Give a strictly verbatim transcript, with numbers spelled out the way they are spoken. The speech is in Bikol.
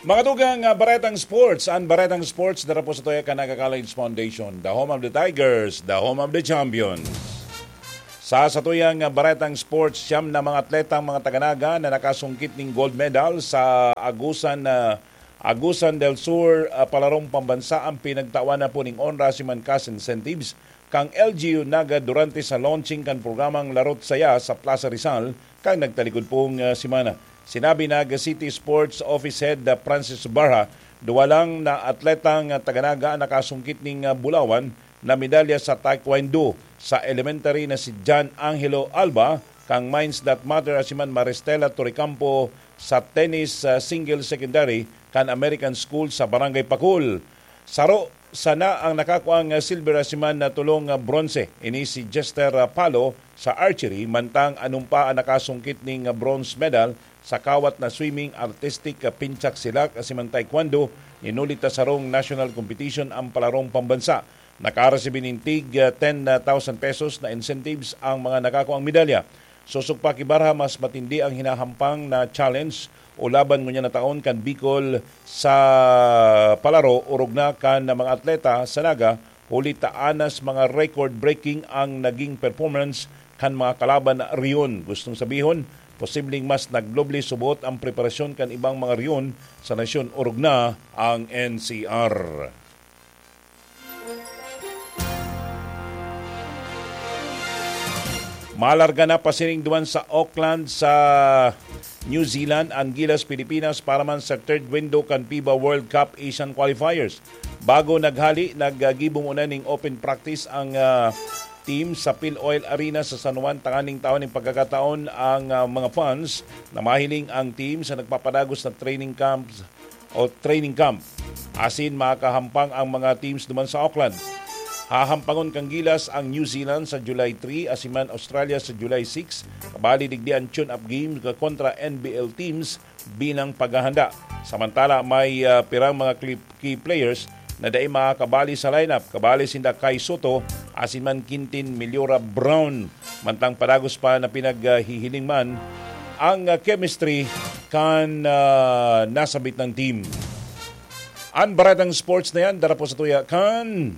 Mga dugang, ah, Baretang Sports. Ang Baretang Sports, dara po sa tuya kan Naga College Foundation, the home of the Tigers, the home of the champions. Sa satuyang, ah, Baretang Sports, siyam na mga atletang mga taga-Naga na nakasungkit ning gold medal sa Agusan, ah, Agusan del Sur, ah, palarong pambansa ang pinagtawan na puning onra si Mankas Incentives kang L G U Naga durante sa launching kan programang Larot Saya sa Plaza Rizal kan nagtalikod pong, ah, semana. Sinabi Naga City Sports Office Head, ah, Francis Barha, duwa lang na atletang, ah, taga-Naga ang nakasungkit ning, ah, bulawan na medalya sa Taekwondo sa elementary na si John Angelo Alba kang Minds That Matter, asiman Maristela Torrecampo sa tennis, ah, single secondary kan American School sa Barangay Pakul. Saro sana ang nakakuang silver asiman na tulong bronze. Ini si Jester Palo sa archery, mantang anumpa ang nakasungkit ning bronze medal sa kawat na swimming, artistic, pinchak silak, asiman taekwondo. Inulit na sarong national competition ang palarong pambansa. Nakaresibi nin tig ten thousand pesos na incentives ang mga nakakuang medalya. Sosog pa ki Barha, mas matindi ang hinahampang na challenge o laban ngunyan na taon kan Bicol sa palaro, orog na kan mga atleta sa Naga, huli ta anas mga record-breaking ang naging performance kan mga kalaban riyon. Gustong sabihon, posibleng mas nagdoble subot ang preparasyon kan ibang mga riyon sa nasyon, orog na ang N C R. Malarga na pasiring duman sa Auckland sa New Zealand ang Gilas Pilipinas para man sa third window kan FIBA World Cup Asian Qualifiers. Bago naghali, naggibo muna ning open practice ang, ah, team sa Pil Oil Arena sa San Juan tanganing tawan ning pagkakataon ang, ah, mga fans na mahiling ang team sa nagpapadagos na training camps o training camp. Asin makahampang ang mga teams duman sa Auckland. Hahampangon kan Gilas ang New Zealand sa July three, asiman Australia sa July six, kabali digdi ang tune-up game kontra N B L teams bilang paghahanda. Samantala, may, ah, pirang mga kli-, key players na dai makakabali sa lineup. Kabali sinda Kai Soto, asin man Quintin Meliora Brown. Mantang padagos pa na pinaghihiling man ang, ah, chemistry kan, ah, nasabit ng team. Ang baratang sports na yan, dara po sa tuya kan